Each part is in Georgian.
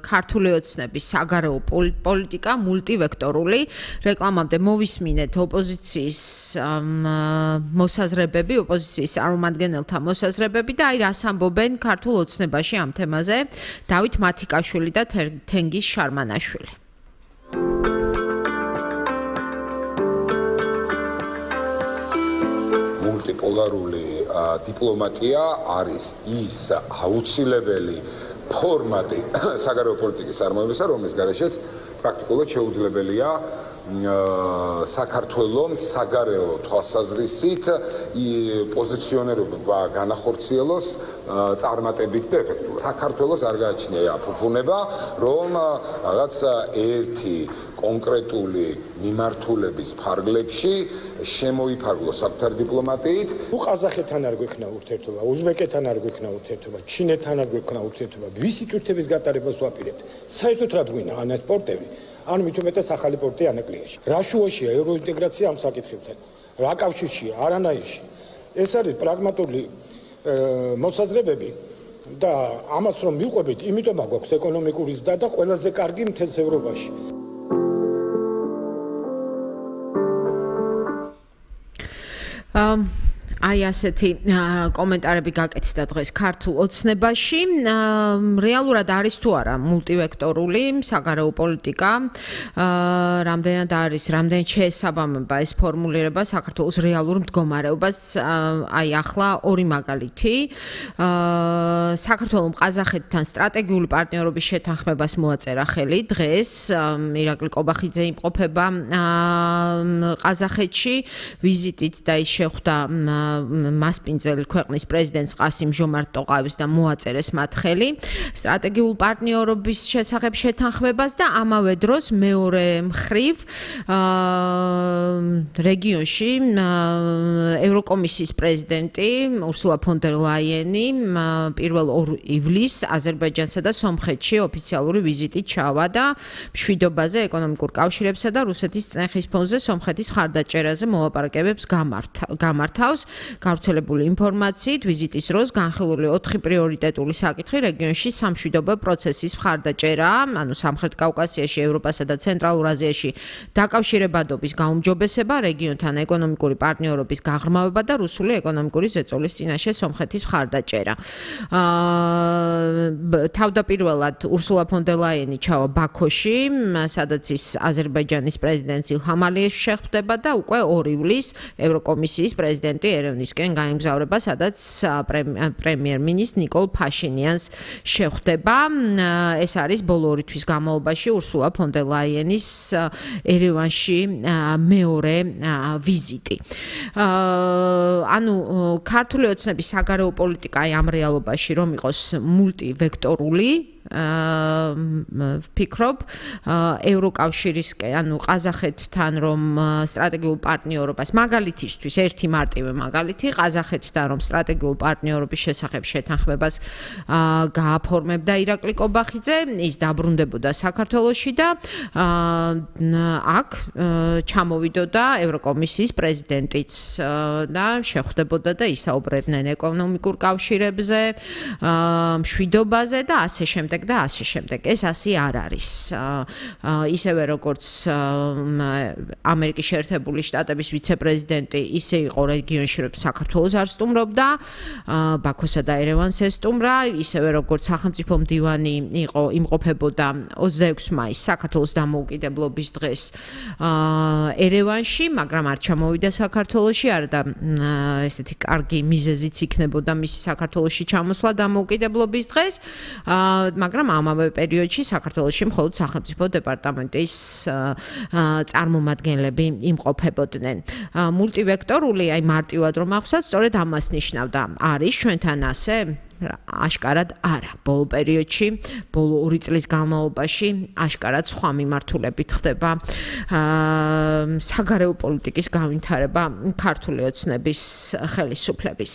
ქართული ოცნების საგარეო პოლიტიკა მულტივექტორული. რეკლამამდე მოვისმინეთ ოპოზიციის მოსაზრებები, ოპოზიციის წარმომადგენელთა მოსაზრებები და აი რას ამბობენ ქართულ ოცნებაში ამ თემაზე დავით მათიკაშვილი და თენგიზ შარმანაშვილი. მულტიპოლარული დიპლომატია არის ის აუცილებელი ფორმატი საგარეო პოლიტიკის წარმოებისა, რომლის გარეშეც პრაქტიკულად შეუძლებელია საქართველოს საგარეო თვალსაზრისით პოზიციონერობა განახორციელოს წარმატებით და ეფექტურად. საქართველოს არ გააჩნია ფუფუნება, რომ რაღაც ერთი კონკრეტული მიმართულების ფარგლებში შემოიფარგლოს საკუთარ დიპლომატიით. ყაზახეთთან არ გვექნა ურთიერთობა, უზბეკეთთან არ გვექნა ურთიერთობა, ჩინეთთან არ გვექნა ურთიერთობა. ვისი თურთების გატარებას ვაპირებთ? საერთოდ რა გვინა ან ეს პორტები? ან მით უმეტეს ახალი პორტი ანაკლიაში. რა შუაშია ევროინტეგრაცია ამ საკითხებთან? რა კავშირშია? არანაირში. ეს არის პრაგმატული მოსაზრებები და ამას რომ მივყვებით, იმიტომ აგვაქვს ეკონომიკური ზრდა და ყველაზე კარგი მთელს ევროპაში. აი ასეთი კომენტარები გაკეთდა დღეს ქართულ ოცნებაში. რეალურად არის თუ არა მულტივექტორული საგარეო პოლიტიკა? რამდენად არის, რამდენად შეესაბამება ეს ფორმულირება საქართველოს რეალურ მდგომარეობას? აი ახლა ორი მაგალითი. საქართველოს ყაზახეთთან სტრატეგიული პარტნიორობის შეთანხმებას მოაწერა ხელი დღეს. ირაკლი კობახიძე იმყოფება ყაზახეთში ვიზიტით და ის შეხვდა მასპინძელ ქვეყნის პრეზიდენტს ყასიმ ჟომართ ტოყაევს და მოაწერეს მათ ხელი სტრატეგიულ პარტნიორობის შესახებ შეთანხმებას და ამავე დროს მეორე მხრივ რეგიონში ევროკომისიის პრეზიდენტი ურსულა ფონ დერ ლაიენი 1 ივლისს აზერბაიჯანსა და სომხეთში ოფიციალური ვიზიტით ჩავა და მშვიდობაზე, ეკონომიკურ კავშირებსა და რუსეთის წნეხის ფონზე სომხეთის მხარდაჭერაზე მოლაპარაკებებს გამართავს. გავრცელებული ინფორმაციით ვიზიტის დროს განხილული 4 პრიორიტეტული საკითხი რეგიონში სამშვიდობო პროცესის მხარდაჭერა, ანუ სამხრეთ კავკასიაში, ევროპასა და ცენტრალურ აზიაში დაკავშირებადობის გაუმჯობესება, რეგიონთან ეკონომიკური პარტნიორობის გაღრმავება და რუსული ეკონომიკური ზეწოლის წინაშე სომხეთის მხარდაჭერა. თავდაპირველად ურსულა ფონ დერ ლაიენი ჩავა ბაქოში, სადაც ის აზერბაიჯანის პრეზიდენტს ილჰამ ალიევს შეხვდება და უკვე 2 ივლისს ევროკომისიის პრეზიდენტი ერევნისკენ გაემგზავრება, სადაც პრემიერ-მინისტრ ნიკოლ ფაშინიანს შეხვდება. ეს არის ბოლო 2 თვის განმავლობაში ურსულა ფონ დერ ლაიენის ერევანში მეორე ვიზიტი. ანუ ქართული ოცნების საგარეო პოლიტიკა ამ რეალობაში რომ იყოს მულტივექტორული ვფიქრობ ევროკავშირისკენ, ანუ ყაზახეთთან რომ სტრატეგიულ პარტნიორობას მაგალითისთვის ერთი მარტივი მაგალითი ყაზახეთთან რომ სტრატეგიულ პარტნიორობის შესახებ შეთანხმებას გააფორმებდა ირაკლი კობახიძე, ის დაბრუნდებოდა საქართველოში და აქ ჩამოვიდოდა ევროკომისიის პრეზიდენტიც და შეხვდებოდა და ისაუბრებდნენ ეკონომიკურ კავშირებზე, მშვიდობაზე და ასე შემდეგ. და ასე შემდეგ. ეს ასე არ არის. ისევე როგორც ამერიკის შეერთებული შტატების ვიცე-პრეზიდენტი ისე იყო რეგიონში, რომ საქართველოს არ სტუმრობდა, ბაქოსა და ერევანს ესტუმრა, ისევე როგორც სახელმწიფო მდივანი იყო იმყოფებოდა 26 მაისს საქართველოს დამოუკიდებლობის დღეს ერევანში, მაგრამ არ ჩამოვიდა საქართველოში, არა და ესეთი კარგი მიზეზიც იქნებოდა მისი საქართველოში ჩამოსვლა დამოუკიდებლობის დღეს. მაგრამ ამავე პერიოდში საქართველოში მხოლოდ სახელმწიფო დეპარტამენტის წარმომადგენლები იმყოფებოდნენ. მულტივექტორული, აი მარტივად რომ ახსოვს, სწორედ ამას ნიშნავდა. არის ჩვენთან ასე? აშკარად არა. ბოლო პერიოდში, ბოლო 2 წლის განმავლობაში აშკარად სხვა მიმართულებით ხდება საგარეო პოლიტიკის განვითარება ქართული ოცნების ხელისუფლების.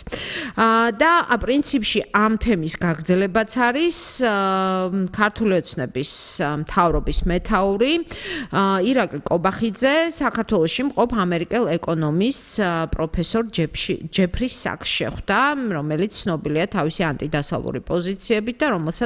და პრინციპში ამ თემის გაგრძელებაც არის ქართული ოცნების მთავრობის მეთაური ირაკლი კობახიძე საქართველოში მყოფ ამერიკელ ეკონომისტს პროფესორ ჯეფრი საკს შეხვდა, რომელიც ცნობილია თავისი ანტიდასავლური პოზიციებით და რომელსაც